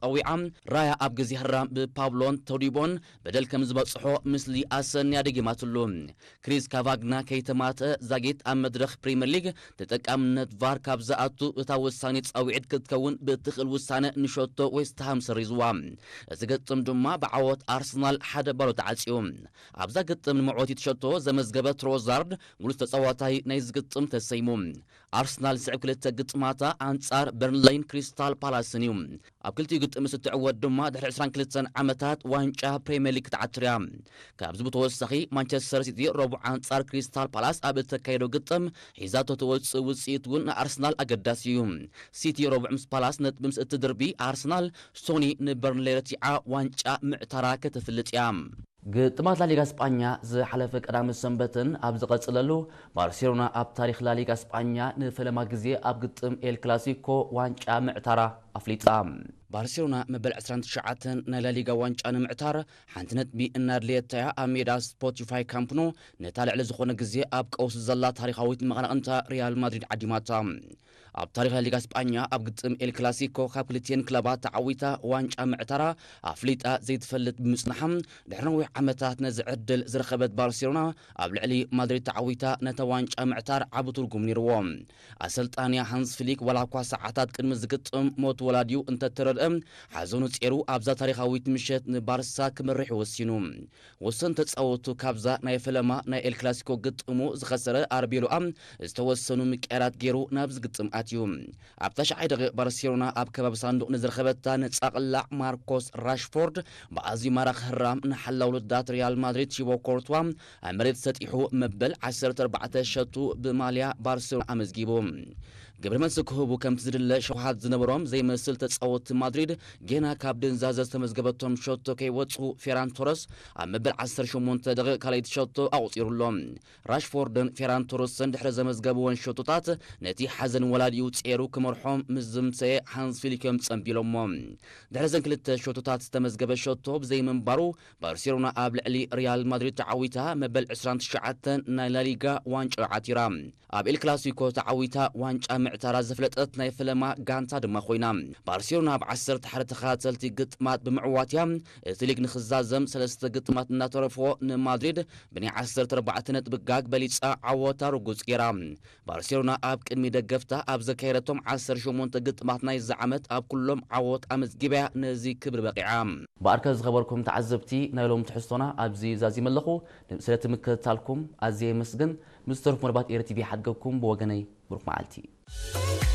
ጸዊዓ። ራያ ኣብ ግዜ ህራም ብፓብሎን ተውዲቦን በደል ከም ዝበጽሖ ምስሊ ኣሰንያ ደጊማትሉ። ክሪስ ካቫግና ከይተማትአ ዛጊት ኣብ መድረኽ ፕሪምየር ሊግ ተጠቃምነት ቫር ካብ ዝኣቱ እታ ውሳኔ ጻውዒት ክትከውን ብትኽእል ውሳነ ንሸቶ ዌስትሃም ሰሪዝዋ። እዚ ግጥም ድማ ብዓወት ኣርሰናል ሓደ ባዶ ተዓጽዩ። ኣብዛ ግጥም ንመዕወቲ ትሸቶ ዘመዝገበ ትሮዛርድ ብሉጽ ተጻዋታይ ናይዚ ግጥም ተሰይሙ። ኣርሰናል ዝስዕብ ክልተ ግጥማታ ኣንጻር በርንለይን ክሪስታል ፓላስን እዩ። ኣብ ክልቲኡ ግጥም ምስ እትዕወት ድማ ድሕሪ ዕስራን ክልተን ዓመታት ዋንጫ ፕሪምየር ሊግ ክትዓትር እያ። ካብዚ ብተወሳኺ ማንቸስተር ሲቲ ረቡዕ ኣንጻር ክሪስታል ፓላስ ኣብ እተካየዶ ግጥም ሒዛቶ ትወጽእ ውጽኢት እውን ንኣርሰናል ኣገዳሲ እዩ። ሲቲ ረቡዕ ምስ ፓላስ ነጥቢ ምስ እትድርቢ ኣርሰናል ሶኒ ንበርንሌ ረቲዓ ዋንጫ ምዕታራ ከተፍልጥ እያ። ግጥማት ላሊጋ ስጳኛ ዝሓለፈ ቀዳመ ሰንበትን ኣብ ዝቐጽለሉ ባርሴሎና ኣብ ታሪኽ ላሊጋ ስጳኛ ንፈለማ ግዜ ኣብ ግጥም ኤል ክላሲኮ ዋንጫ ምዕታራ ኣፍሊጣ። ባርሴሎና መበል ዕስራን ትሽዓተን ናይ ላሊጋ ዋንጫ ንምዕታር ሓንቲ ነጥቢ እናድለየታያ ኣብ ሜዳ ስፖቲፋይ ካምፕ ኑ ነታ ልዕሊ ዝኾነ ግዜ ኣብ ቀውሲ ዘላ ታሪኻዊት መቐናቕንታ ሪያል ማድሪድ ዓዲማታ። ኣብ ታሪኽ ላሊጋ ስጳኛ ኣብ ግጥም ኤል ክላሲኮ ካብ ክልቲኤን ክለባት ተዓዊታ ዋንጫ ምዕታራ ኣፍሊጣ ዘይትፈልጥ ብምጽናሓ ድሕሪ ነዊሕ ዓመታት ነዚ ዕድል ዝረኸበት ባርሴሎና ኣብ ልዕሊ ማድሪድ ተዓዊታ ነታ ዋንጫ ምዕታር ዓቢ ትርጉም ነይርዎ። ኣሰልጣንያ ሃንስ ፍሊክ ዋላ እኳ ሰዓታት ቅድሚ ዝግጥም ሞት ወላዲኡ እንተተረድአ ሓዘኑ ጼሩ ኣብዛ ታሪኻዊት ምሸት ንባርሳ ክመርሕ ወሲኑ። ወሰን ተጻወቱ ካብዛ ናይ ፈለማ ናይ ኤል ክላሲኮ ግጥሙ ዝኸሰረ ኣርቤሎኣ ዝተወሰኑ ምቅያራት ገይሩ ናብ ዝግጥም ኣትዩ። ኣብ ታሽዓይ ደቂቕ ባርሴሎና ኣብ ከባቢ ሳንዱቕ ንዝረኸበታ ነጻ ቅላዕ ማርኮስ ራሽፎርድ ብኣዝዩ ማራኺ ህራም ንሓላው ልዳት ሪያል ማድሪድ ቲቦ ኮርትዋ ኣብ መሬት ሰጢሑ መበል ዓሰርተ ኣርባዕተ ሸቱ ብማልያ ባርሴሎና ኣመዝጊቡ። ግብረ መልሲ ክህቡ ከምቲ ዝድለ ሸውሃት ዝነበሮም ዘይመስል ተጻወትቲ ማድሪድ ጌና ካብ ድንዛዘ ዝተመዝገበቶም ሸቶ ከይወጹ ፌራን ቶረስ ኣብ መበል ዓሰርተ ሸሞንተ ደቂቕ ካልኣይቲ ሸቶ ኣቑጺሩሎም። ራሽፎርድን ፌራን ቶረስን ድሕሪ ዘመዝገብወን ሸቶታት ነቲ ሓዘን ወላዲኡ ጼሩ ክመርሖም ምስ ዝምሰየ ሃንስ ፊሊክ እዮም ጸንቢሎሞ። ድሕሪ ዘን ክልተ ሸቶታት ዝተመዝገበ ሸቶ ብዘይምንባሩ ባርሴሎና ኣብ ልዕሊ ሪያል ማድሪድ ተዓዊታ መበል ዕስራን ትሽዓተን ናይ ላሊጋ ዋንጫ ዓቲራ። ኣብ ኤል ክላሲኮ ተዓዊታ ዋንጫ ምዕታራ ዘፍለጠት ናይ ፈለማ ጋንታ ድማ ኮይና። ባርሴሎና ኣብ ዓሰርተ ሓደ ተኸታተልቲ ግጥማት ብምዕዋት እያ እቲ ሊግ ንኽዛዘም ሰለስተ ግጥማት እናተረፎ ንማድሪድ ብናይ ዓሰርተ ኣርባዕተ ነጥቢ ጋግ በሊጻ ዓወታ ርጉጽ ገይራ። ባርሴሎና ኣብ ቅድሚ ደገፍታ ኣብ ዘካየደቶም ዓሰርተ ሸሞንተ ግጥማት ናይዚ ዓመት ኣብ ኩሎም ዓወት ኣመዝጊባያ ነዚ ክብሪ በቂዓ። ብኣርከ ዝኸበርኩም ተዓዘብቲ ናይ ሎም ትሕዝቶና ኣብዚ ዛዚመ ኣለኹ። ስለቲ ምክትታልኩም ኣዝየ የመስግን። ምስ ዝተረፉ መርባት ኤር ቲቪ ሓድገኩም ብወገነይ ብሩክ መዓልቲ።